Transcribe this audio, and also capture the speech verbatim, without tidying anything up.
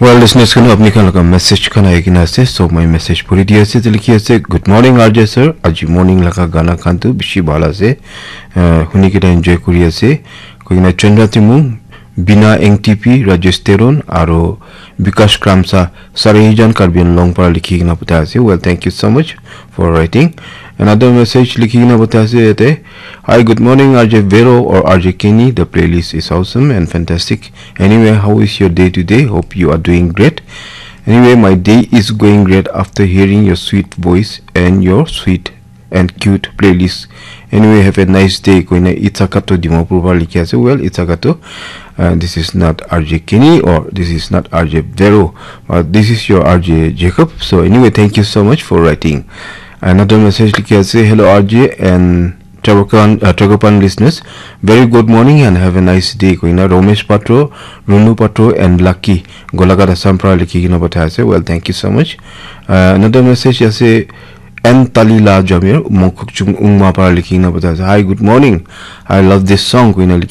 Well, listeners khan, apni khan laga message khan ahi kena ase, so my message puri di ase, likhi ase, "Good morning, R J sir. Aji morning laga gana khan tu bishi bhal ase. Uh, huni kena enjoy kuri ase." Koi kena Chandra Timung, Bina N T P, Rajesh Teron, aro Bikash Kramsa, Sarijan Karbi Anglong para likhi kena pathai ase. Well, thank you so much for writing. Another message likhi kena pathai ase yate. "Hi, good morning, R J Vero or R J Kenny. The playlist is awesome and fantastic. Anyway, how is your day today? Hope you are doing great. Anyway, my day is going great after hearing your sweet voice and your sweet and cute playlist. Anyway, have a nice day." Koina Itsakato Dimapur para likhi ase. Well, Itsakato, uh, this is not R J Kenny or this is not R J Vero, but this is your R J Jacob. So anyway, thank you so much for writing. Another message likhi ase, "Hello, R J and Tragopan, uh, Tragopan listeners. Very good morning and have a nice day." Koina Romesh Patro, Runu Patro, and Lucky Golaghat Assam para likhi kena pathai ase. Well, thank you so much. Uh, another message ase, N Talila Jamir, Mokokchung Ungma para likhi kena pathai ase. "Hi, good morning. I love this song." Koina likhi